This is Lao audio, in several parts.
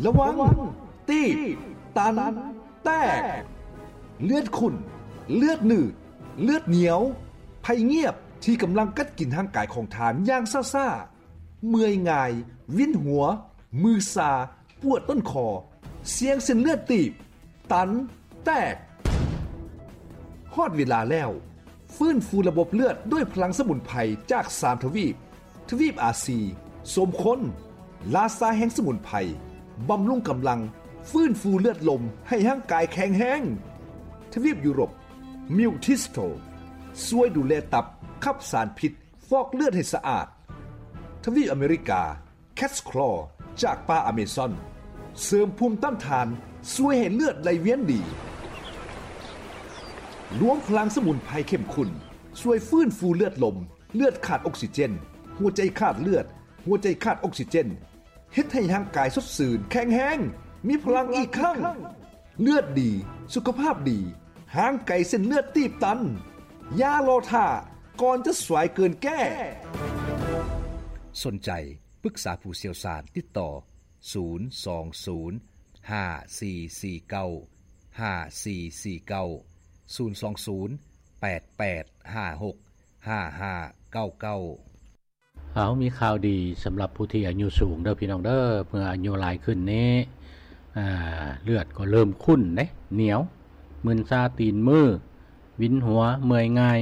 ລະວັງ ຕີບ ຕັນ ແຕກ ເລືອດຂຸ້ນ ເລືອດໜືດ ເລືອດໜຽວ ໄພງຽບທີ່ກຳລັງກັດກິນຮ່າງກາຍຂອງທ່ານຢ່າງຊ້າໆ, ເມື່ອຍງ່າຍ, ວິນຫົວ, ມືຊາ, ປວດຕົ້ນຄໍ, ສ່ຽງເສັ້ນເລືອດຕີບ, ຕັນ, ແຕກ. ຮອດເວລາແລ້ວ, ຟື້ນຟູລະບົບເລືອດດ້ວຍພະລັງສະໝຸນໄພຈາກສາມທະວີບ, ທະວີບອາຊີ, ສົມຄົນ, ລາຊາແຫ່ງສະໝຸນໄພ, ບຳລຸງກຳລັງ, ຟື້ນຟູເລືອດລົມໃຫ້ຮ່າງກາຍແຂງແຮງ. ທະວີບຢູໂຣບ, ມິວທິສໂຕ, ຊ່ວຍດູແລຕັບ, ຂັບສານພິດ, ຟອກເລືອດໃຫ້ສະອາດ. ທະວີບອາເມລິກາ, ແຄດສະຄລໍຈາກປ່າອາເມຊອນ ເສີມພູມຕ້ານທານ, ຊ່ວຍໃຫ້ເລືອດໄຫຼວຽນດີ. ລວມພະລັງສະໝຸນໄພເຂັ້ມຂຸ້ນ ຊ່ວຍຟື້ນຟູເລືອດລົມ, ເລືອດຂາດອົກຊີເຈນ, ຫົວໃຈຂາດເລືອດ, ຫົວໃຈຂາດອົກຊີເຈນ, ເຮັດໃຫ້ຮ່າງກາຍສົດຊື່ນ, ແຂງແຮງ, ມີພະລັງອີກຄັ້ງ. ເລືອດດີ, ສຸຂະພາບດີ, ຫ່າງໄກເສັ້ນເລືອດຕີບຕັນ. ຢ່າລໍຖ້າ, ກ່ອນຈະສວຍເກີນແກ້. ສົນໃຈ ປຶກສາຜູ້ຊ່ຽວຊານ ຕິດຕໍ່ ສູນສອງສູນ ຫ້າສີ່ສີ່ເກົ້າ ຫ້າສີ່ສີ່ເກົ້າ, ສູນສອງສູນ ແປດແປດຫ້າຫົກ ຫ້າຫ້າເກົ້າເກົ້າ. ເຮົາມີຂ່າວດີສຳລັບຜູ້ທີ່ອາຍຸສູງເດີພີ່ນ້ອງເດີ. ເມື່ອອາຍຸຫຼາຍຂຶ້ນນີ້ ເລືອດກໍເລີ່ມຂຸ້ນເດ້, ໜຽວ, ມຶນຊາຕີນມື, ວິນຫົວ, ເມື່ອຍງ່າຍ,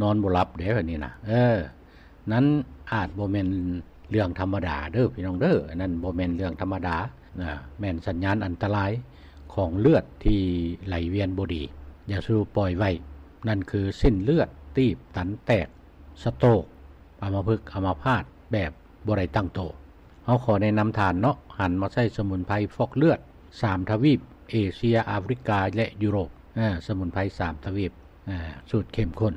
ນອນບໍ່ຫຼັບເດ້ ແບບນີ້ນະ. ເອີ ນັ້ນອາດບໍ່ແມ່ນເລື່ອງທຳມະດາເດີພີ່ນ້ອງເດີ. ອັນນັ້ນບໍ່ແມ່ນເລື່ອງທຳມະດານະ, ແມ່ນສັນຍານອັນຕະລາຍຂອງເລືອດທີ່ໄຫຼວຽນບໍ່ດີ. ຢ່າສູ່ປ່ອຍໄວ້, ນັ້ນຄືເສັ້ນເລືອດຕີບ, ຕັນ, ແຕກ, ສະໂຕກ, ອຳມະພຶກ, ອຳມະພາດແບບບໍ່ໄດ້ຕັ້ງໂຕ. ເຮົາຂໍແນະນຳທ່ານເນາະ, ຫັນມາໃຊ້ສະໝຸນໄພຟອກເລືອດສາມທະວີບ, ເອເຊຍ, ອາຟຣິກາ ແລະ ຢູໂຣບ. ເອີ ສະໝຸນໄພສາມທະວີບ, ເອີ ສູດເຂັ້ມຂຸ້ນ.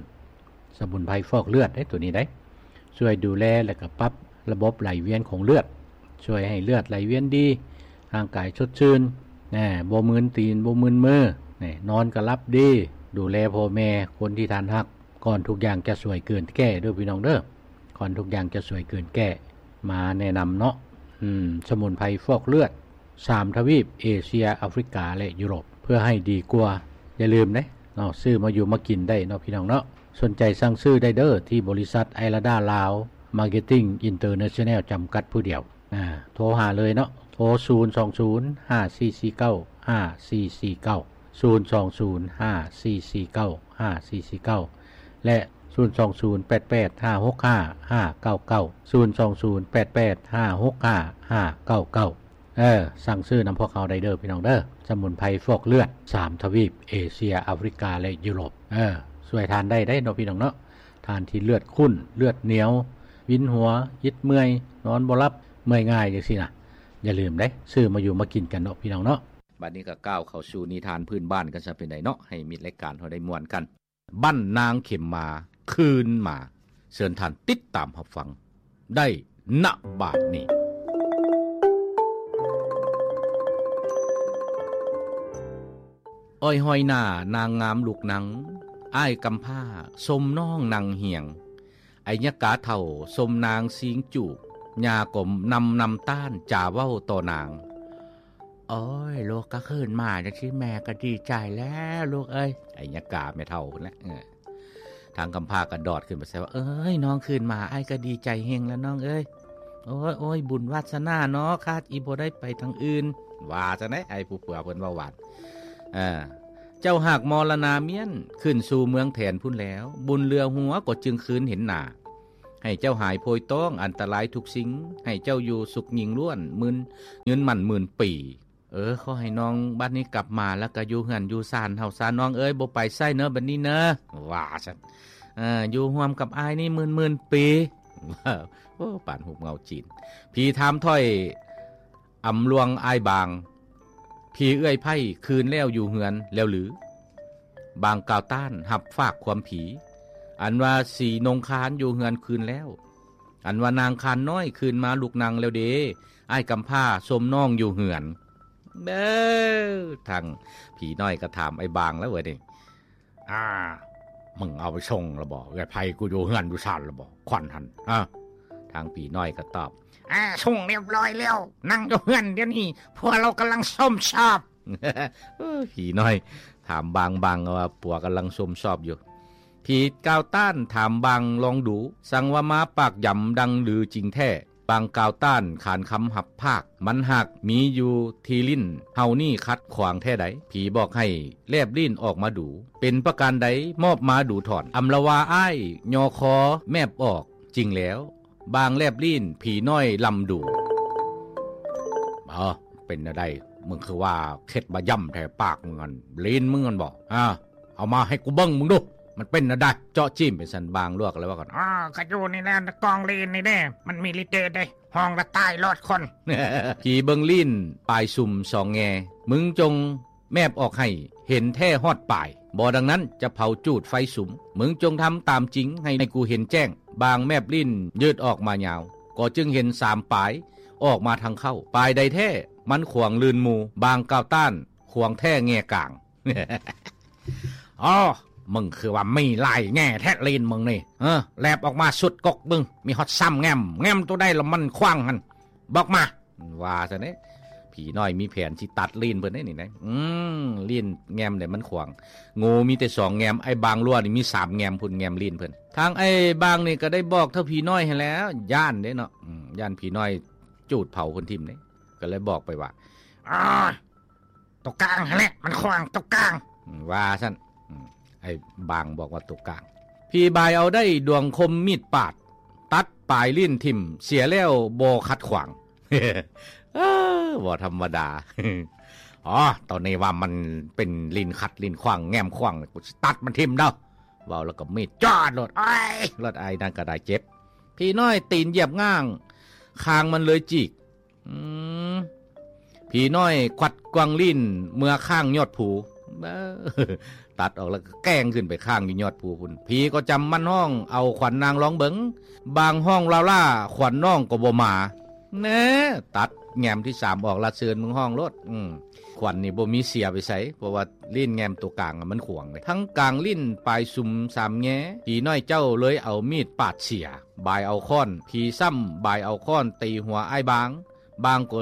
ສະໝຸນໄພຟອກເລືອດເດ້ ໂຕນີ້ໄດ໋ ຊ່ວຍດູແລ ແລະ ກໍປັບລະບົບໄຫຼວຽນຂອງເລືອດ, ຊ່ວຍໃຫ້ເລືອດໄຫຼວຽນດີ, ຮ່າງກາຍສົດຊື່ນ, ແນ່ ບໍ່ມຶນຕີນ, ບໍ່ມຶນມື, ແນ່ ນອນກໍຫຼັບດີ. ດູແລພໍ່ແມ່, ຄົນທີ່ທ່ານຮັກ, ກ່ອນທຸກຢ່າງຈະສວຍເກີນແກ້ເດີພີ່ນ້ອງເດີ. ກ່ອນທຸກຢ່າງຈະສວຍເກີນແກ້, ມາແນະນຳເນາະ. ອືມ ສະໝຸນໄພຟອກເລືອດ ສາມທະວີບ ເອເຊຍ, ອາຟຣິກາ ແລະ ຢູໂຣບ ເພື່ອໃຫ້ດີກວ່າ. ຢ່າລືມເດ້ເນາະ, ຊື້ມາຢູ່ມາກິນໄດ້ເນາະ ພີ່ນ້ອງເນາະ. ສົນໃຈສັ່ງຊື້ໄດ້ເດີ ທີ່ບໍລິສັດໄອລາດາລາວ ມາເກັດຕິງ ອິນເຕີເນຊັນແນວ ຈຳກັດຜູ້ດຽວ. ອ່າ ໂທຫາເລີຍເນາະ, ໂທ ສູນສອງສູນ ຫ້າສີ່ສີ່ເກົ້າ ຫ້າສີ່ສີ່ເກົ້າ, ສູນສອງສູນ ຫ້າສີ່ສີ່ເກົ້າ ຫ້າສີ່ສີ່ເກົ້າ ແລະ ສູນສອງສູນ ແປດແປດຫ້າຫົກຫ້າ ຫ້າເກົ້າເກົ້າ, ສູນສອງສູນ ແປດແປດຫ້າຫົກຫ້າ ຫ້າເກົ້າເກົ້າ. ເອີ ສັ່ງຊື້ນຳພວກເຮົາໄດ້ເດີພີ່ນ້ອງເດີ. ສະໝຸນໄພຟອກເລືອດ ສາມທະວີບ ເອເຊຍ, ອາຟຣິກາ ແລະ ຢູໂຣບ. ເອີ ຊ່ວຍທ່ານໄດ້ໄດ໋ເນາະ ພີ່ນ້ອງເນາະ. ທ່ານທີ່ເລືອດຂຸ້ນ, ເລືອດໜຽວ, ວິນຫົວ, ຫຍິດເມື່ອຍ, ນອນບໍ່ຫຼັບ, ເມື່ອຍງ່າຍຈັ່ງຊີ້ນະ, ຢ່າລືມເດ້, ຊື້ມາຢູ່ມາກິນກັນເນາະ ພີ່ນ້ອງເນາະ. ບັດນີ້ກໍກ້າວເຂົ້າສູ່ນິທານພື້ນບ້ານກັນຊະ ເປັນໃດເນາະ, ໃຫ້ມິດລາຍການເຮົາໄດ້ມ່ວນກັນ. ບ້ານນາງເຂັມມາຄືນມາ. ເຊີນທ່ານຕິດຕາມຮັບຟັງໄດ້ ນະ ບາດນີ້. ອ້ອຍຫ້ອຍໜ້ານາງງາມລູກນັງ, ອ້າຍກຳພ້າຊົມນ້ອງນັ່ງຮຽງ, ໄອ້ຍະກາເຖົ້າຊົມນາງຊີງຈູບ, ຍ່າກໍນຳນຳຕ້ານຈາເວົ້າຕໍ່ນາງ. ໂອ້ຍ ລູກກໍຄືນມາຈັ່ງຊີ້ ແມ່ກໍດີໃຈແລ້ວລູກເອີຍ. ໄອ້ຍະກາແມ່ເຖົ້າພຸ້ນແຫຼະ. ເອີ ທາງກຳພ້າກໍດອດຂຶ້ນໄປໃສ່ວ່າ ເອີຍ ນ້ອງຄືນມາ ອ້າຍກໍດີໃຈເຮັງແລ້ວນ້ອງເອີຍ. ໂອ້ຍ ໂອ້ຍ ບຸນວາສະໜາເນາະ ຄາດອີ່ບໍ່ໄດ້ໄປທາງອື່ນ. ວ່າຈັ່ງໃດ ອ້າຍຜູ້ເຜືອເພິ່ນເວົ້າຫວານ. ເອີ ເຈົ້າຫາກມໍລະນາມ້ຽນ ຂຶ້ນສູ່ເມືອງແຖນພຸ້ນແລ້ວ, ບຸນເຫຼືອຫົວກໍຈຶ່ງຄືນເຫັນໜ້າ. ໃຫ້ເຈົ້າຫາຍໂພຍຕ້ອງ ອັນຕະລາຍທຸກສິ່ງ, ໃຫ້ເຈົ້າຢູ່ສຸກຍິ່ງລ້ວນ ໝື່ນ ຍືນໝັ້ນໝື່ນປີ. ເອີ ຂໍໃຫ້ນ້ອງບັດນີ້ກັບມາ ແລ້ວກໍຢູ່ເຮືອນຢູ່ຊານເຮົາຊະນ້ອງເອີຍ, ບໍ່ໄປໃສເນີ ບັດນີ້ເນີ ວ່າຊັ້ນ. ເອີ ຢູ່ຮ່ວມກັບອ້າຍນີ້ໝື່ນໆປີ. ໂອ້ ປານຮູບເງົາຈີນ. ຜີຖາມຖ້ອຍອຳລວງອ້າຍບາງ, ຜີເອື້ອຍໄພ້ຄືນແລ້ວຢູ່ເຮືອນແລ້ວຫຼື? ບາງກ່າວຕ້ານຮັບຝາກຄວາມຜີ, ອັນວ່າສີນົງຄານຢູ່ເຮືອນຄືນແລ້ວ, ອັນວ່ານາງຄານນ້ອຍຄືນມາລຸກນັ່ງແລ້ວເດ, ອ້າຍກຳພ້າຊົມນ້ອງຢູ່ເຮືອນ. ເບີ ທາງຜີນ້ອຍກໍຖາມອ້າຍບາງແລ້ວເວີຍນີ້. ອາ ມຶງເອົາໄປສົ່ງລະບໍ່? ເອື້ອຍໄພ້ກູຢູ່ເຮືອນຢູ່ຊານລະບໍ່? ຂວັນຫັ້ນ ຮະ? ທາງຜີນ້ອຍກໍຕອບ, ອາ ສົ່ງຮຽບຮ້ອຍແລ້ວ ນັ່ງຢູ່ເຮືອນດຽວນີ້ ຜົວລາວກຳລັງຊົມຊອບ. ເອີ ຜີນ້ອຍຖາມບາງ ບາງວ່າຜົວກຳລັງຊົມຊອບຢູ່. ຜີກ່າວຕ້ານຖາມບາງລອງດູ ສັງວ່າມາປາກຢຳດັງລືຈິງແທ້. ບາງກ່າວຕ້ານຂານຄຳຮັບພາກ ມັນຫາກມີຢູ່ທີ່ຫຼິ້ນເຮົານີ້ຂັດຂວາງແທ້ໃດ. ຜີບອກໃຫ້ແລບລີ້ນອອກມາດູ ເປັນປະການໃດ ມອບມາດູຖອນ. ອຳລະວາອ້າຍຍໍຄໍແມບອອກຈິງແລ້ວ ບາງແລບລີ້ນ ຜີນ້ອຍລຳດູ. ເອົາ ເປັນແນວໃດ ມຶງຄືວ່າເຄັດມາຢຳແທ້ປາກມຶງຫັ້ນ ລີ້ນມຶງຫັ້ນບໍ? ອາ ເອົາມາໃຫ້ກູເບິ່ງມຶງດູ ມັນເປັນແນວໃດ? ເຈາະຈີ້ມໄປຊັ້ນ ບາງລວກແລ້ວວ່າກັນ. ອໍ ກະຢູ່ນີ້ແຫຼະ ກອງລີ້ນນີ້ເດ້ ມັນມີລິດເດດເດ້ ຫ້ອງລະຕາຍລອດຄົນ. ຜີເບິ່ງລີ້ນປາຍຊຸມສອງແງ່ ມຶງຈົ່ງແມບອອກໃຫ້ເຫັນແທ້ຮອດປາຍ ບໍ່ດັ່ງນັ້ນຈະເຜົາຈູດໄຟສຸມ. ມຶງຈົ່ງທຳຕາມຈິງ ໃຫ້ ໃຫ້ກູເຫັນແຈ້ງ. ບາງແມບລີ້ນຍືດອອກມາຍາວ ກໍຈຶ່ງເຫັນສາມປາຍອອກມາທາງເຂົ້າ. ປາຍໃດແທ້ມັນຂວາງລື່ນໝູ່ ບາງກ່າວຕ້ານຂວາງແທ້ແງ່ກາງ. ອໍ ມຶງຄືວ່າມີຫຼາຍແງ່ແທ້ລີ້ນມຶງນີ້ ເອີ ແລບອອກມາສຸດກົກມຶງ ມີຮອດສາມແງ່ມ ແງ່ມໂຕໃດລະມັນຂວາງຫັ້ນ ບອກມາ ວ່າຊັ້ນເດ້. ຜີນ້ອຍມີແຜນຊິຕັດລີ້ນເພິ່ນເດ້ນີ້ນະ ອືມ ລີ້ນແງ່ມໃດມັນຂວາງ ໂງ່ມີແຕ່ສອງແງ່ມ ອ້າຍບາງລົວນີ້ມີສາມແງ່ມພຸ້ນ ແງ່ມລີ້ນເພິ່ນ. ທາງອ້າຍບາງນີ້ກໍໄດ້ບອກເທົ່າຜີນ້ອຍຫັ້ນແຫຼະ ຢ້ານເດ້ເນາະ ອືມ ຢ້ານຜີນ້ອຍຈູດເຜົາເພິ່ນຖິ້ມເດ້ ກໍເລີຍບອກໄປວ່າ ໂຕກາງຫັ້ນແຫຼະມັນຂວາງ ໂຕກາງ ອືມ ວ່າຊັ້ນ ອືມ ອ້າຍບາງບອກວ່າໂຕກາງ. ຜີບາຍເອົາໄດ້ດວງຄົມມີດປາດ ຕັດປາຍລີ້ນຖິ້ມ ເສຍແລ້ວບໍ່ຂັດຂວາງ. ເອີ ບໍ່ທຳມະດາ. ອໍ ໂຕນີ້ວ່າມັນເປັນລີ້ນຂັດລີ້ນຂວາງ ແງ່ມຂວາງ ກູຊິຕັດມັນຖິ້ມເດີ້. ເວົ້າແລ້ວກໍມີດຈອດໂລດ ໂອ້ຍ ໂລດ ອ້າຍນັ້ນກໍໄດ້ເຈັບ. ຜີນ້ອຍຕີນຢຽບງ່າງ ຄາງມັນເລີຍຈີກ. ອືມ ຜີນ້ອຍກວັດກວັງລີ້ນເມືອຄ້າງຍອດພູ ເອີ ຕັດອອກແລ້ວກໍແກ່ງຂຶ້ນໄປຄ້າງຢູ່ຍອດພູພຸ້ນ. ຜີກໍຈຳໝັ້ນຮ້ອງເອົາຂວັນນາງລອງເບິ່ງ ບາງຮ້ອງລ້າໆ ຂວັນນ້ອງກໍບໍ່ມາ. ແນ່ ຕັດແງ່ມທີສາມອອກລະ ເຊີນມຶງຮ້ອງໂລດ ອືມ ຂວັນນີ້ບໍ່ມີເສຍໄປໃສ ເພາະວ່າ ລີ້ນແງ່ມໂຕກາງມັນຂວາງເດ້ ທັງກາງລີ້ນປາຍຊຸມສາມແງ່. ຜີນ້ອຍເຈົ້າເລີຍເອົາມີດປາດເສຍ ບາຍເອົາຄ້ອນ ຜີຊ້ຳບາຍເອົາຄ້ອນຕີຫົວອ້າຍບາງ. ບາງກໍ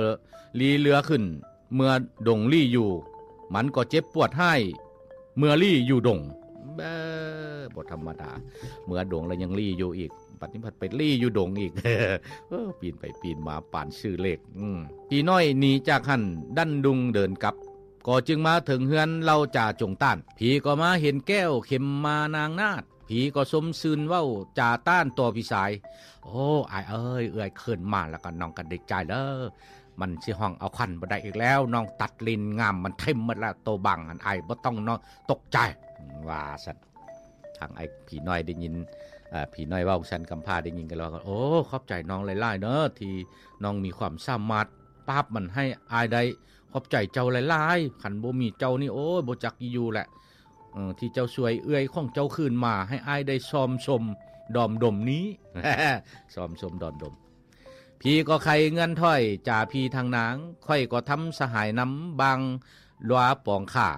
ລີ້ເຫຼືອຂຶ້ນເມືອດົງລີ້ຢູ່ ມັນກໍເຈັບປວດຮ້າຍເມື່ອລີ້ຢູ່ດົງ. ເອີ ບໍ່ທຳມະດາ ເມືອດົງແລ້ວຍັງລີ້ຢູ່ອີກ ບັດນີ້ພັດໄປລີ້ຢູ່ດົງອີກ ເອີ ປີນໄປປີນມາປານຊື່ເລກ. ອືມ ຜີນ້ອຍໜີຈາກຫັ້ນ ດັ້ນດຸ່ງເດີນກັບ ກໍຈຶ່ງມາເຖິງເຮືອນເລົ່າຈາຈົງຕ້ານ. ຜີກໍມາເຫັນແກ້ວເຂັມມານາງນາດ ຜີກໍຊົມຊື່ນເວົ້າຈາຕ້ານຕໍ່ພີ່ຊາຍ. ໂອ້ ອ້າຍເອີຍ ເອື້ອຍຂຶ້ນມາແລ້ວກໍນ້ອງກໍດີໃຈເດີ້ ມັນຊິຮ້ອງເອົາຂວັນບໍ່ໄດ້ອີກແລ້ວ ນ້ອງຕັດລີ້ນງາມມັນຖິ້ມໝົດແລ້ວ ໂຕບາງຫັ້ນ ອ້າຍບໍ່ຕ້ອງເນາະ ຕົກໃຈ ວ່າຊັ້ນ. ທາງອ້າຍຜີນ້ອຍໄດ້ຍິນ ເອີ ຜີນ້ອຍເວົ້າຊັ້ນ ກຳພ້າໄດ້ຍິນກໍເລີຍວ່າ ໂອ້ ຂອບໃຈນ້ອງຫຼາຍໆເດີ້ ທີ່ນ້ອງມີຄວາມສາມາດປາບມັນໃຫ້ອ້າຍໄດ້ ຂອບໃຈເຈົ້າຫຼາຍໆ ຄັນບໍ່ມີເຈົ້ານີ້ ໂອ້ຍ ບໍ່ຈັກຢູ່ແຫຼະ ເອີ ທີ່ເຈົ້າຊ່ວຍເອື້ອຍຂອງເຈົ້າຄືນມາ ໃຫ້ອ້າຍໄດ້ຊອມຊົມດອມດົມນີ້ ຊອມຊົມດອມດົມ. ຜີກໍໄຄເງືອນຖ້ອຍ ຈາຜີທາງນາງ ຂ້ອຍກໍທຳສະຫາຍນຳບາງຫຼວາປອງຂ້າ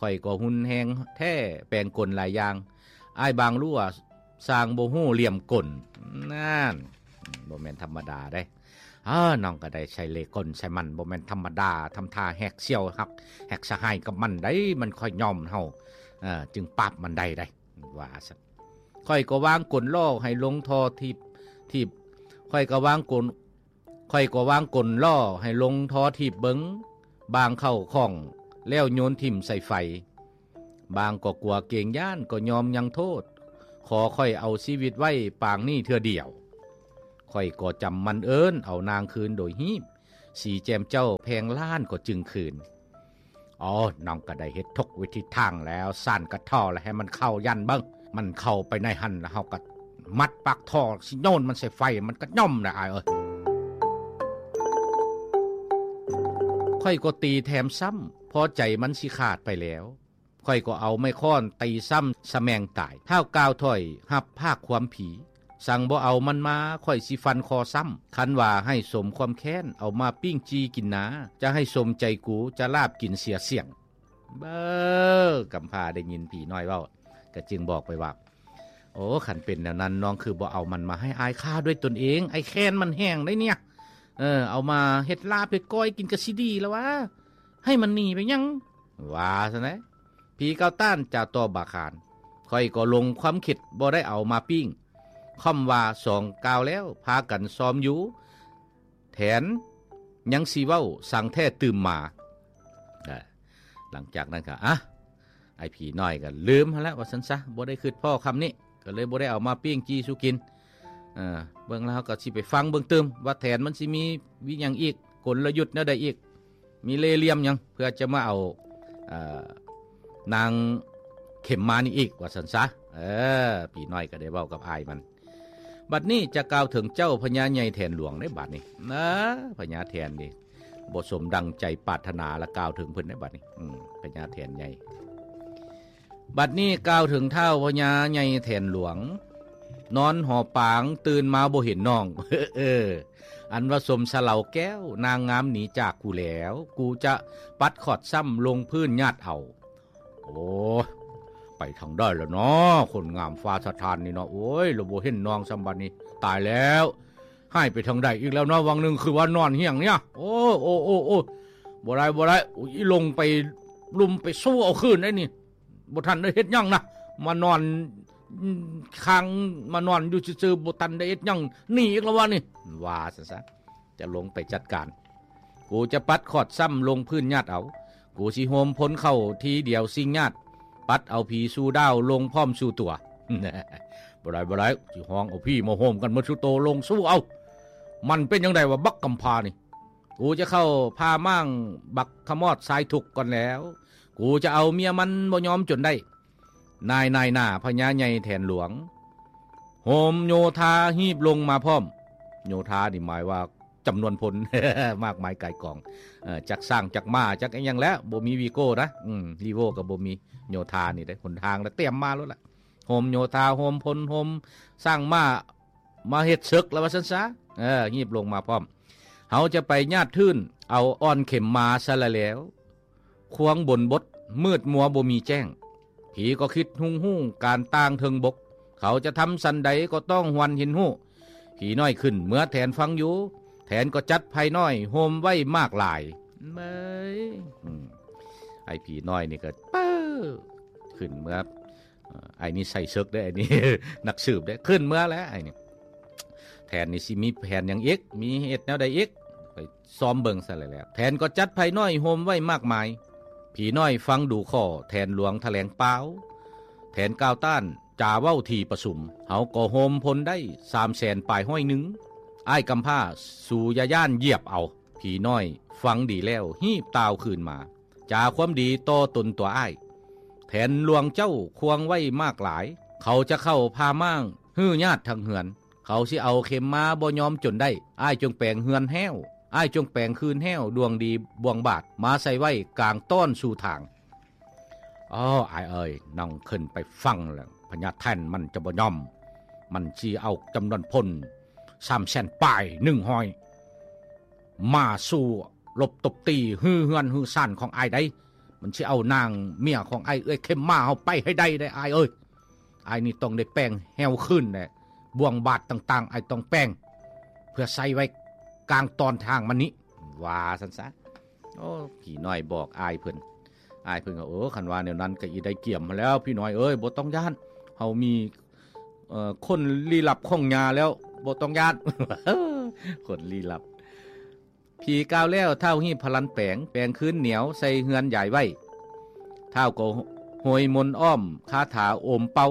ຂ້ອຍກໍຮຸນແຮງແທ້ ແປງກົນຫຼາຍຢ່າງ ອ້າຍບາງຫຼວ ຊ່າງບໍ່ຮູ້ຫຼ່ຽມກົນ. ນັ້ນ ບໍ່ແມ່ນທຳມະດາເດ້ ເອີ ນ້ອງກໍໄດ້ໃສ່ເລ່ກົນໃສ່ມັນ ບໍ່ແມ່ນທຳມະດາ ທຳທ່າແຮກສ່ຽວຮັກແຮກສະຫາຍກັບມັນໄດ໋ ມັນຄ່ອຍຍອມເຮົາ ເອີ ຈຶ່ງປາບມັນໄດ້ໄດ໋ ວ່າຊັ້ນ. ຂ້ອຍກໍວາງກົນລໍ້ໃຫ້ລົງທໍ່ຖີບ ຖີບ ຂ້ອຍກໍວາງກົນ ຂ້ອຍກໍວາງກົນລໍ້ໃຫ້ລົງທໍ່ຖີບເບິ່ງ ບາງເຂົ້າຂ້ອງແລ້ວໂຍນຖິ້ມໃສ່ໄຟ ບາງກໍກົວເກງຢ້ານ ກໍຍອມຍັງໂທດ ຂໍຂ້ອຍເອົາຊີວິດໄວ້ປາງນີ້ເທື່ອດຽວ ຂ້ອຍກໍຈຳໝັ້ນເອີ້ນເອົານາງຄືນໂດຍຮີບ ສີແຈ່ມເຈົ້າແພງລ້ານກໍຈຶ່ງຄືນ. ອໍ ນ້ອງກໍໄດ້ເຮັດທຸກວິທີທາງແລ້ວ ສ້ານກະທໍ່ແລ້ວ ໃຫ້ມັນເຂົ້າຢັນເບິ່ງ ມັນເຂົ້າໄປໃນຫັ້ນແລ້ວ ເຮົາກໍມັດປາກທໍ່ ຊິໂຍນມັນໃສ່ໄຟ ມັນກໍຍອມແຫຼະອ້າຍເອີຍ. ຂ້ອຍກໍຕີແຖມຊ້ຳ ພໍໃຈມັນຊິຂາດໄປແລ້ວ ຂ້ອຍກໍເອົາໄມ້ຄ້ອນຕີຊ້ຳສະແໝງຕາຍ ທ້າວກ່າວຖ້ອຍຮັບພາກຄວາມຜີ ສັ່ງບໍ່ເອົາມັນມາ ຂ້ອຍຊິຟັນຄໍຊ້ຳ ຄັນວ່າໃຫ້ສົມຄວາມແຄ້ນ ເອົາມາປີ້ງຈີ່ກິນນາ ຈະໃຫ້ສົມໃຈກູ ຈະລາບກິນເສຍສ່ຽງ. ເບີ ກຳພ້າໄດ້ຍິນຜີນ້ອຍເວົ້າ ກໍຈຶ່ງບອກໄປວ່າ ໂອ້ ຄັນເປັນແນວນັ້ນ ນ້ອງຄືບໍ່ເອົາມັນມາໃຫ້ອ້າຍຂ້າດ້ວຍຕົນເອງ ອ້າຍແຄ້ນມັນແຮງໄດ໋ເນຍ. ເອີ ເອົາມາເຮັດລາບເຮັດກ້ອຍກິນກະຊິດີແລ້ວຫວາ ໃຫ້ມັນໜີໄປຫຍັງ ວ່າຊັ້ນແຫຼະ. ຜີກ່າວຕ້ານຈະຕໍ່ບາຄານ ຂ້ອຍກໍຫຼົງຄວາມຄິດບໍ່ໄດ້ເອົາມາປີ້ງ ຄ່ອມວ່າສອງກ່າວແລ້ວ ພາກັນຊອມຢູ່ ແຖນຍັງຊິເວົ້າສັງແທ້ຕື່ມມາ. ເອີ ຫຼັງຈາກນັ້ນກໍ ອະ ໄອ້ຜີນ້ອຍກໍລືມຫັ້ນແຫຼະວ່າຊັ້ນຊະ ບໍ່ໄດ້ຄິດພໍ້ຄຳນີ້ ກໍເລີຍບໍ່ໄດ້ເອົາມາປີ້ງຈີ່ສູ່ກິນ. ເອີ ເບິ່ງແລ້ວເຮົາກໍຊິໄປຟັງເບິ່ງຕື່ມວ່າແຖນມັນຊິມີວິຫຍັງອີກ ກົນລະຍຸດແນວໃດອີກ ມີເລ່ຫຼ່ຽມຫຍັງ ເພື່ອຈະມາເອົາ ເອີ ນາງເຂັມມານີ້ອີກວ່າຊັ້ນຊະ. ເອີ ຜີນ້ອຍກໍໄດ້ເວົ້າກັບອ້າຍມັນ. ບັດນີ້ຈະກ່າວເຖິງເຈົ້າພະຍາໃຫຍ່ແຖນຫຼວງເດ້ບັດນີ້ ເອີ ພະຍາແຖນນີ້ບໍ່ສົມດັ່ງໃຈປາດຖະໜາ ລະກ່າວເຖິງເພິ່ນເດ້ບັດນີ້ ອືມ ພະຍາແຖນໃຫຍ່. ບັດນີ້ກ່າວເຖິງທ້າວພະຍາໃຫຍ່ແຖນຫຼວງ ນອນຫໍປາງຕື່ນມາບໍ່ເຫັນນ້ອງ ເອີ ອັນວ່າສົມສະເລົາແກ້ວ ນາງງາມໜີຈາກກູແລ້ວ ກູຈະປັດຂອດຊ້ຳລົງພື້ນຍາດເອົາ. ໂອ້ຍ ໄປທາງໃດລະເນາະ ຄົນງາມຟ້າສະຖານນີ້ເນາະ ໂອ້ຍ ລະບໍ່ເຫັນນ້ອງຊ້ຳບັດນີ້ ຕາຍແລ້ວ ຫາຍໄປທາງໃດອີກແລ້ວເນາະ ຫວ່າງໜຶ່ງຄືວ່ານອນຮຽງເນຍ ໂອ້ ໂອ້ ໂອ້ ໂອ້ ບໍ່ໄດ້ ບໍ່ໄດ້ ອີຫຼົງໄປລຸມໄປຊູ້ເອົາຄືນໄດ໋ນີ້ ບໍ່ທັນໄດ້ເຮັດຫຍັງນະ ມານອນ ອືມ ຄ້າງ ມານອນຢູ່ຊື່ໆ ບໍ່ທັນໄດ້ເຮັດຫຍັງ ໜີອີກແລ້ວວະນີ້ ວ່າຊັ້ນຊະ. ຈະລົງໄປຈັດການ ກູຈະປັດຂອດຊ້ຳລົງພື້ນຍາດເອົາ ກູຊິໂຮມພົນເຂົ້າທີດຽວຊິງຍາດ ປັດເອົາຜີສູ່ດາວລົງພ້ອມສູ່ຕົວ. ບໍ່ໄດ້ ບໍ່ໄດ້ ຊິຮ້ອງເອົາຜີມາໂຮມກັນໝົດສູ່ໂຕລົງສູ້ເອົາ ມັນເປັນຈັ່ງໃດວະບັກກຳພ້ານີ້ ກູຈະເຂົ້າຜ່າມ້າງບັກຂະມອດຊາຍທຸກກ່ອນແລ້ວ ກູຈະເອົາເມຍມັນບໍ່ຍອມຈົນໄດ້. ນາຍ ນາຍໜ້າພະຍາໃຫຍ່ແຖນຫຼວງ ໂຮມໂຍທາຮີບລົງມາພ້ອມ ໂຍທານີ້ໝາຍວ່າຈຳນວນພົນ ມາກມາຍກາຍກອງ ເອີ ຈັກຊ້າງຈັກມ້າຈັກອີ່ຫຍັງແຫຼະ ບໍ່ມີວີໂກ້ນະ ອືມ ລີໂວ້ກໍບໍ່ມີ ໂຍທານີ້ເດ້ ຫົນທາງລະຕຽມມາໂລດລະ ໂຮມໂຍທາ ໂຮມພົນ ໂຮມຊ້າງມ້າ ມາເຮັດເສິກລະວ່າຊັ້ນຊະ ເອີ ຮີບລົງມາພ້ອມ ເຮົາຈະໄປຍາດທຶນ ເອົາອ່ອນເຂັມມາຊະລະແລ້ວ ຄວງບົນບົດ ມືດມົວບໍ່ມີແຈ້ງ ຜີກໍຄິດຮຸ່ງຮູ້ການຕ່າງເທິງບົກ ເຂົາຈະທຳສັນໃດກໍຕ້ອງຫວັ່ນເຫັນຮູ້ ຜີນ້ອຍຂຶ້ນເມືອແຖນຟັງຢູ່ ແຖນກໍຈັດໄພນ້ອຍໂຮມໄວ້ມາກຫຼາຍ ເອີຍ ອືມ ໄອ້ຜີນ້ອຍນີ້ກໍ ປຶ້ ຂຶ້ນເມືອ ເອີ ໄອ້ນີ້ໃສ່ເສິກເດ້ ໄອ້ນີ້ ນັກສືບເດ້ ຂຶ້ນເມືອແລ້ວໄອ້ນີ້ ແຖນນີ້ຊິມີແຜນຫຍັງອີກ ມີເຮັດແນວໃດອີກ ໄປຊອມເບິ່ງຊະແລ້ວ ແຖນກໍຈັດໄພນ້ອຍໂຮມໄວ້ມາກມາຍ ຜີນ້ອຍຟັງດູຂໍ້ແຖນຫຼວງຖະແຫຼງປ່າວ ແຖນກ່າວຕ້ານຈາເວົ້າທີ່ປະຊຸມ ເຮົາກໍໂຮມພົນໄດ້ສາມແສນປາຍຮ້ອຍໜຶ່ງ ອ້າຍກຳພ້າ ສູຢ່າຢ້ານຢຽບເອົາ ຜີນ້ອຍຟັງດີແລ້ວຮີບຕ່າວຄືນມາ ຈາຄວາມດີຕໍ່ຕົນຕົວອ້າຍ ແຖນຫຼວງເຈົ້າຄວງໄວ້ມາກຫຼາຍ ເຂົາຈະເຂົ້າຜ່າມ້າງຮື້ຍາດທັງເຮືອນ ເຂົາຊິເອົາເຂັມມາບໍ່ຍອມຈົນໄດ້ ອ້າຍຈົ່ງແປງເຮືອນແຮ້ວ ອ້າຍຈົ່ງແປງຄືນແຮ້ວດວງດີບ່ວງບາດ ມາໃສ່ໄວ້ກາງຕ້ອນສູ່ທາງ. ອໍ ອ້າຍເອີຍ ນ້ອງຂຶ້ນໄປຟັງແລ້ວ ພະຍາແຖນມັນຈະບໍ່ຍອມ ມັນຊິເອົາຈຳນວນພົນສາມແສນປາຍໜຶ່ງຮ້ອຍ ມາສູ້ລົບຕົບຕີຮື້ເຮືອນຮື້ຊານຂອງອ້າຍໃດ໋ ມັນຊິເອົານາງເມຍຂອງອ້າຍເອື້ອຍເຂັມມາເຮົາໄປໃຫ້ໄດ້ເດ້ອ້າຍເອີຍ ອ້າຍນີ້ຕ້ອງໄດ້ແປງແຮ້ວຄືນແຫຼະ ບ່ວງບາດຕ່າງໆ ອ້າຍຕ້ອງແປງ ເພື່ອໃສ່ໄວ້ກາງຕ້ອນທາງມັນນີ້ ວ່າຊັ້ນຊະ. ໂອ້ ຜີນ້ອຍບອກອ້າຍເພິ່ນ ອ້າຍເພິ່ນກໍ ເອີ ຄັນວ່າແນວນັ້ນກໍອີໄດ້ກຽມຫັ້ນແລ້ວ ຜີນ້ອຍເອີຍ ບໍ່ຕ້ອງຢ້ານ ເຮົາມີ ເອີ ຄົນລີ້ລັບຂອງຍ່າແລ້ວ ບໍ່ຕ້ອງຢ້ານ ຄົນລີ້ລັບ. ຜີກ່າວແລ້ວ ທ້າວຮີບພະລັນແປງ ແປງຄືນໜຽວໃສ່ເຮືອນຢາຍໄວ້ ທ້າວກໍໂຮຍມົນອ້ອມຄາຖາໂອມເປົ່າ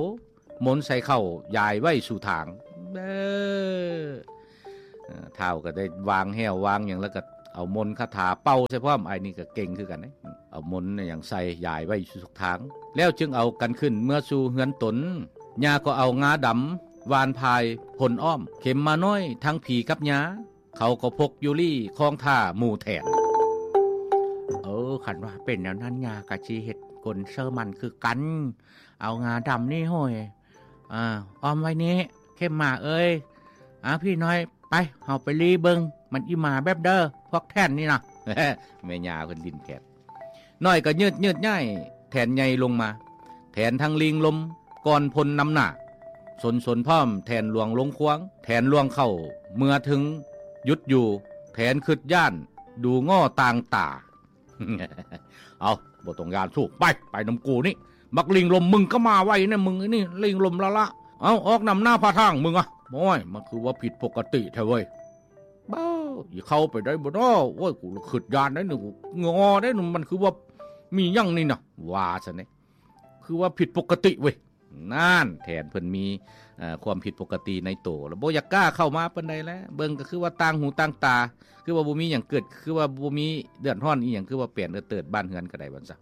ມົນໃສ່ເຂົ້າຢາຍໄວ້ສູ່ທາງ ເອີ ທ້າວກໍໄດ້ວາງແຮ້ວວາງຫຍັງ ແລ້ວກໍເອົາມົນຄາຖາເປົ່າໃສ່ພ້ອມ ອ້າຍນີ້ກໍເກັ່ງຄືກັນເດ້ ເອົາມົນຫຍັງໃສ່ຢາຍໄວ້ສູ່ທຸກທາງ ແລ້ວຈຶ່ງເອົາກັນຂຶ້ນເມືອສູ່ເຮືອນຕົນ ຍ່າກໍເອົາງາດຳຫວ່ານພາຍພົນອ້ອມ ເຂັມມານ້ອຍທັງຜີກັບຍ່າ ເຂົາກໍພົກຢູ່ລີ້ຄອງຖ້າໝູ່ແຖນ. ເອີ ຄັນວ່າເປັນແນວນັ້ນ ຍ່າກໍຊິເຮັດກົນເຊີມັນຄືກັນ ເອົາງາດຳນີ້ໂຫຍ ອ່າ ອ້ອມໄວ້ນີ້ ເຂັມມາເອີຍ ອ່າ ຜີນ້ອຍ ໄປ ເຮົາໄປລີ້ເບິ່ງ ມັນອີ່ມາແບບເດີ ພວກແຖນນີ້ນະ ແມ່ຍ່າເພິ່ນຫຼິ້ນແຂນ ນ້ອຍກໍຍືດຍືດຍ້າຍແຖນໃຫຍ່ລົງມາ ແຖນທັງລີງລົມກ່ອນພົນນຳໜ້າ ສົນສົນພ້ອມແຖນຫຼວງລົງຄວງ ແຖນຫຼວງເຂົ້າເມືອເທິງຢຸດຢູ່ ແຖນຄຶດຢ້ານ ດູງໍຕ່າງຕາ. ເອົາ ບໍ່ຕ້ອງຢ້ານສູ ໄປ ໄປນຳກູນີ້. ບັກລິງລົມ ມຶງກໍມາໄວແດ່ ມຶງນີ້ ລິງລົມລະລະ. ເອົາ ອອກນຳໜ້າພາທາງມຶງອະ. ໂອ້ຍ ມັນຄືວ່າຜິດປົກກະຕິແທ້ເວີຍ. ເບົາ ອີເຂົ້າໄປໄດ້ບໍ່ນໍ? ໂອ້ຍ ກູລະຄຶດຢ້ານໄດ໋ນີ້ ກູງໍໄດ໋ນີ້ ມັນຄືວ່າມີຫຍັງນີ້ນະ ວ່າຊັ້ນເດ. ຄືວ່າຜິດປົກກະຕິເວີຍ. ນັ້ນ ແຖນເພິ່ນມີ ເອີ ຄວາມຜິດປົກກະຕິໃນໂຕ ແລ້ວບໍ່ຢາກກ້າເຂົ້າມາປານໃດແຫຼະ. ເບິ່ງກໍຄືວ່າຕ່າງຫູຕ່າງຕາ ຄືວ່າບໍ່ມີຫຍັງເກີດ ຄືວ່າບໍ່ມີເດືອດຮ້ອນອີ່ຫຍັງ ຄືວ່າແປນເອີເຕີດບ້ານເຮືອນກໍໄດ້ວ່າຊັ້ນ.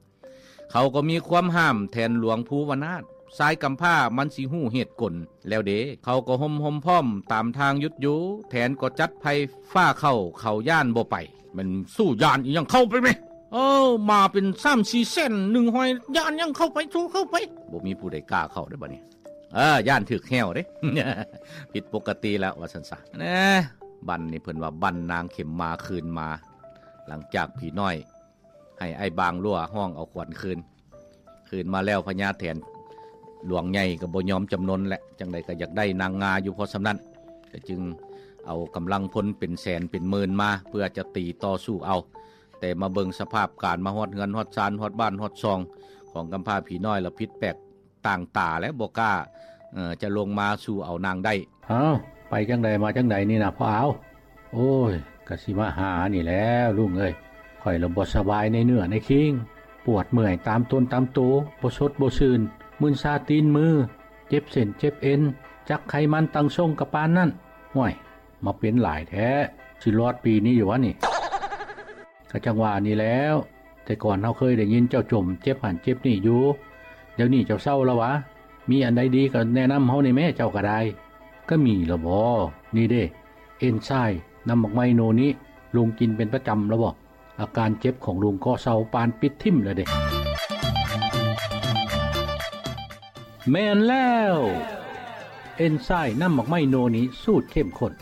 ເຂົາກໍມີຄວາມຫ້າມແຖນຫຼວງພູວະນາດ ຊາຍກຳພ້າມັນຊິຮູ້ເຫດກົນແລ້ວເດ. ເຂົາກໍໂຮມໆພ້ອມຕາມທາງຢຸດຢູ່ ແຖນກໍຈັດໄພຟ້າເຂົ້າ ເຂົາຢ້ານບໍ່ໄປ. ແມ່ນສູຢ້ານອີ່ຫຍັງ ເຂົ້າໄປແມ. ເອີ ມາເປັນສາມສີ່ແສນ ໜຶ່ງຮ້ອຍ ຢ້ານຫຍັງ ເຂົ້າໄປ ໂທ້ ເຂົ້າໄປ. ບໍ່ມີຜູ້ໃດກ້າເຂົ້າເດ້ບັດນີ້. ເອີ ຢ້ານຖືກແຮ້ວເດ້ ຜິດປົກກະຕິແລ້ວວ່າຊັ້ນຊະ. ແນ່ ບັ້ນນີ້ເພິ່ນວ່າບັ້ນນາງເຂັມມາຄືນມາ ຫຼັງຈາກຜີນ້ອຍໃຫ້ອ້າຍບາງລົວຮ້ອງເອົາຂວັນຄືນ. ຄືນມາແລ້ວ ພະຍາແຖນຫຼວງໃຫຍ່ກໍບໍ່ຍອມຈຳນົນແຫຼະ ຈັ່ງໃດກໍຢາກໄດ້ນາງງາຢູ່ພໍສ່ຳນັ້ນ ກໍຈຶ່ງເອົາກຳລັງພົນເປັນແສນເປັນໝື່ນມາ ເພື່ອຈະຕີຕໍ່ສູ້ເອົາ. ແຕ່ມາເບິ່ງສະພາບການ ມາຮອດເຮືອນຮອດຊານ ຮອດບ້ານຮອດຊ່ອງຂອງກຳພ້າຜີນ້ອຍລະຜິດແປກຕ່າງຕາແລ້ວ ບໍ່ກ້າ ເອີ ຈະລົງມາສູ້ເອົານາງໄດ້. ເອົ້າ ໄປຈັ່ງໃດມາຈັ່ງໃດນີ້ນະພໍ່ອາວ? ໂອ້ຍ ກະຊິມາຫານີ້ແຫຼະລຸງເອີຍ. ຂ້ອຍລະບໍ່ສະບາຍໃນເນື້ອໃນຄີງ ປວດເມື່ອຍຕາມຕົນຕາມໂຕ ບໍ່ສົດບໍ່ຊື່ນ ມຶນຊາຕີນມື ເຈັບເສັ້ນເຈັບເອັນ ຈັກໄຂມັນຕັ້ງຊົງກະປານນັ້ນ. ຫ້ວຍ ມາເປັນຫຼາຍແທ້ ຊິລອດປີນີ້ຢູ່ຫວານີ້? ກະຈັ່ງວ່ານີ້ແຫຼ້ວ ແຕ່ກ່ອນເຮົາເຄີຍໄດ້ຍິນເຈົ້າຈົ່ມເຈັບຫັ້ນເຈັບນີ້ຢູ່ ດຽວນີ້ເຈົ້າເຊົາລະຫວາ? ມີອັນໃດດີກໍແນະນຳເຮົາແດ່ແມ້ ເຈົ້າກໍໄດ້. ກະມີລະບໍ? ນີ້ເດ້ ເອັນຊາຍນ້ຳໝາກໄມ້ໂນນິ ລຸງກິນເປັນປະຈຳລະບໍ? ອາການເຈັບຂອງລຸງກໍເຊົາປານປິດຖິ້ມລະເດ້. ແມ່ນແລ້ວ ເອັນຊາຍນ້ຳໝາກໄມ້ໂນນິສູດເຂັ້ມຂຸ້ນ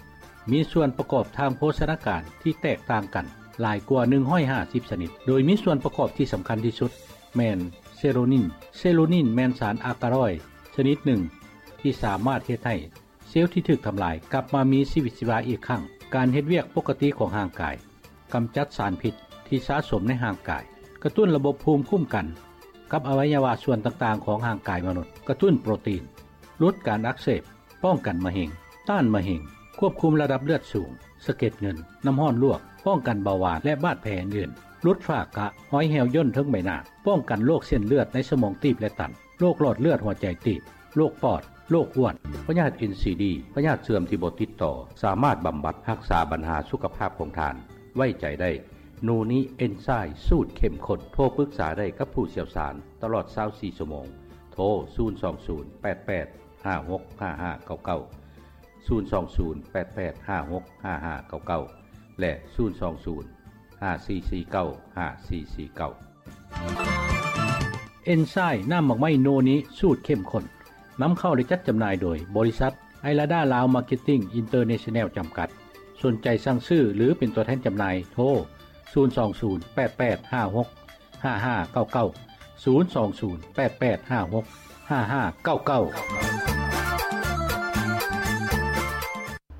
ມີສ່ວນປະກອບທາງໂພຊະນາການທີ່ແຕກຕ່າງກັນຫຼາຍກວ່າໜຶ່ງຮ້ອຍຫ້າສິບຊະນິດ ໂດຍມີສ່ວນປະກອບທີ່ສຳຄັນທີ່ສຸດແມ່ນເຊໂຣນິນ. ເຊໂຣນິນແມ່ນສານອາກາຣອຍຊະນິດໜຶ່ງທີ່ສາມາດເຮັດໃຫ້ ເຊວທີ່ຖືກທຳລາຍກັບມາມີຊີວິດຊີວາອີກຄັ້ງ, ການເຮັດວຽກປົກກະຕິຂອງຮ່າງກາຍ, ກຳຈັດສານພິດທີ່ສະສົມໃນຮ່າງກາຍ, ກະຕຸ້ນລະບົບພູມຄຸ້ມກັນກັບອະໄວຍະວະສ່ວນຕ່າງໆຂອງຮ່າງກາຍມະນຸດ, ກະຕຸ້ນໂປຣຕີນ, ຫຼຸດການອັກເສບ, ປ້ອງກັນມະເຮັງ, ຕ້ານມະເຮັງ, ຄວບຄຸມລະດັບເລືອດສູງ, ສະເກັດເງິນ, ນ້ຳຮ້ອນລວກ, ປ້ອງກັນເບົາຫວານ ແລະ ບາດແຜອື່ນໆ, ຫຼຸດຝ້າກະ, ຮອຍແຫ້ວຍ່ນເທິງໃບໜ້າ, ປ້ອງກັນໂລກເສັ້ນເລືອດໃນສະໝອງຕີບ ແລະ ຕັນ. ໂລກຫຼອດເລືອດຫົວໃຈຕີບ, ໂລກປອດ, ໂລກອ້ວນ, ພະຍາດເອັນຊີດີ, ພະຍາດເຊື່ອມທີ່ບໍ່ຕິດຕໍ່, ສາມາດບຳບັດຮັກສາບັນຫາສຸຂະພາບຂອງທ່ານ. ໄວ້ໃຈໄດ້ ໂນນິເອັນຊາຍສູດເຂັ້ມຂຸ້ນ. ໂທປຶກສາໄດ້ກັບຜູ້ຊ່ຽວຊານຕະຫຼອດຊາວສີ່ຊົ່ວໂມງ. ໂທ ສູນສອງສູນ ແປດແປດ ຫ້າຫົກຫ້າຫ້າເກົ້າເກົ້າ, ສູນສອງສູນ ແປດແປດ ຫ້າຫົກຫ້າຫ້າເກົ້າເກົ້າ ແລະ ສູນສອງສູນ ຫ້າສີ່ສີ່ເກົ້າ ຫ້າສີ່ສີ່ເກົ້າ. ເອັນຊາຍນ້ຳໝາກໄມ້ໂນນິສູດເຂັ້ມຂຸ້ນ ນຳເຂົ້າ ແລະ ຈັດຈຳໜ່າຍໂດຍ ບໍລິສັດ ໄອລາດາລາວ ມາເກັດຕິ້ງ ອິນເຕີເນຊັນແນວ ຈຳກັດ. ສົນໃຈສັ່ງຊື້ ຫຼື ເປັນຕົວແທນຈຳໜ່າຍ ໂທ ສູນສອງສູນ ແປດແປດ ຫ້າຫົກ ຫ້າຫ້າເກົ້າເກົ້າ ສູນສອງສູນ ແປດແປດ ຫ້າຫົກ ຫ້າຫ້າເກົ້າເກົ້າ.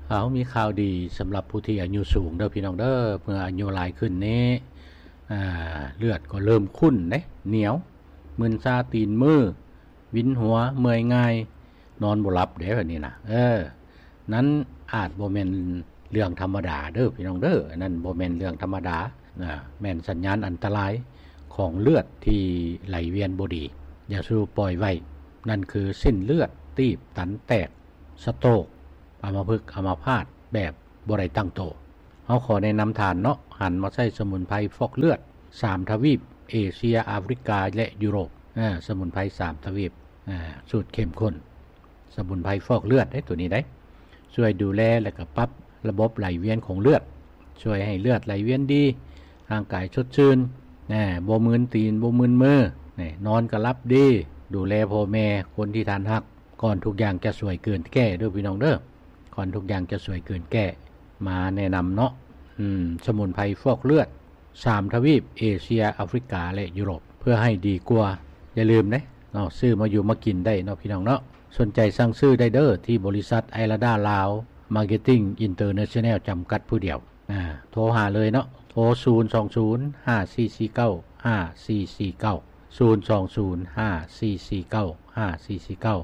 ເຮົາມີຂ່າວດີສຳລັບຜູ້ທີ່ອາຍຸສູງເດີພີ່ນ້ອງເດີ. ເມື່ອອາຍຸຫຼາຍຂຶ້ນນີ້ ອາ ເລືອດກໍເລີ່ມຂຸ້ນເດ້ ໜຽວ, ມຶນຊາຕີນມື, ວິນຫົວ, ເມື່ອຍງ່າຍ, ນອນບໍ່ຫຼັບເດ້ ແບບນີ້ນະ. ເອີ ນັ້ນອາດບໍ່ແມ່ນເລື່ອງທຳມະດາເດີພີ່ນ້ອງເດີ, ອັນນັ້ນບໍ່ແມ່ນເລື່ອງທຳມະດານະ, ແມ່ນສັນຍານອັນຕະລາຍຂອງເລືອດທີ່ໄຫຼວຽນບໍ່ດີ. ຢ່າສູ່ປ່ອຍໄວ້, ນັ້ນຄືເສັ້ນເລືອດຕີບຕັນແຕກ, ສະໂຕກ, ອຳມະພຶກ, ອຳມະພາດແບບບໍ່ໄດ້ຕັ້ງໂຕ. ເຮົາຂໍແນະນຳທ່ານເນາະ ຫັນມາໃຊ້ສະໝຸນໄພຟອກເລືອດສາມທະວີບ ເອເຊຍ, ອາຟຣິກາ ແລະ ຢູໂຣບ. ອາ ສະໝຸນໄພສາມທະວີບ ອາ ສູດເຂັ້ມຂຸ້ນ. ສະໝຸນໄພຟອກເລືອດເດ້ ໂຕນີ້ເດ້ ຊ່ວຍດູແລ ແລະ ກະປັບລະບົບໄຫຼວຽນຂອງເລືອດ, ຊ່ວຍໃຫ້ເລືອດໄຫຼວຽນດີ, ຮ່າງກາຍສົດຊື່ນ, ແນ່ ບໍ່ມຶນຕີນ ບໍ່ມຶນມື, ແນ່ ນອນກະຫຼັບດີ, ດູແລພໍ່ແມ່, ຄົນທີ່ທ່ານຮັກ, ກ່ອນທຸກຢ່າງຈະສວຍເກີນແກ້ເດີພີ່ນ້ອງເດີ, ກ່ອນທຸກຢ່າງຈະສວຍເກີນແກ້. ມາແນະນຳເນາະ ອືມ ສະໝຸນໄພຟອກເລືອດ ສາມທະວີບ ເອເຊຍ, ອາຟຣິກາ ແລະ ຢູໂຣບ ເພື່ອໃຫ້ດີກວ່າ. ຢ່າລືມເດ້ເນາະ ຊື້ມາຢູ່ມາກິນໄດ້ເນາະພີ່ນ້ອງເນາະ. ສົນໃຈສັ່ງຊື້ໄດ້ເດີ ທີ່ບໍລິສັດໄອລາດາລາວ ມາເກັດຕິ້ງ ອິນເຕີເນຊັນແນວ ຈຳກັດຜູ້ດຽວ. ອ່າ ໂທຫາເລີຍເນາະ ໂທ ສູນສອງສູນ ຫ້າສີ່ສີ່ເກົ້າ ຫ້າສີ່ສີ່ເກົ້າ ສູນສອງສູນ ຫ້າສີ່ສີ່ເກົ້າ ຫ້າສີ່ສີ່ເກົ້າ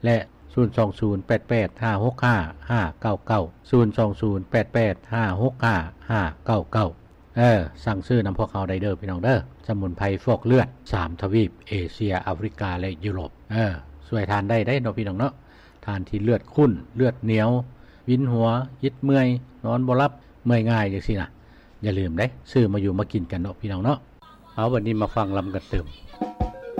ແລະ ສູນສອງສູນ ແປດແປດ ຫ້າຫົກຫ້າ ຫ້າເກົ້າເກົ້າ ສູນສອງສູນ ແປດແປດ ຫ້າຫົກຫ້າ ຫ້າເກົ້າເກົ້າ. ເອີ ສັ່ງຊື້ນຳພວກເຮົາໄດ້ເດີພີ່ນ້ອງເດີ ສະໝຸນໄພຟອກເລືອດ ສາມທະວີບ ເອເຊຍ ອາຟຣິກາ ແລະ ຢູໂຣບ. ເອີ ຊ່ວຍທ່ານໄດ້ເດ້ເນາະພີ່ນ້ອງເນາະ ທ່ານທີ່ເລືອດຂຸ້ນ ເລືອດໜຽວ ວິນຫົວ ອິດເມື່ອຍ ນອນບໍ່ຫຼັບ ເມື່ອຍງ່າຍຈັ່ງຊີ້ນະ ຢ່າລືມເດ້ ຊື້ມາຢູ່ມາກິນກັນເນາະພີ່ນ້ອງເນາະ. ເອົາ ບັດນີ້ມາຟັງລຳກັນຕື່ມ.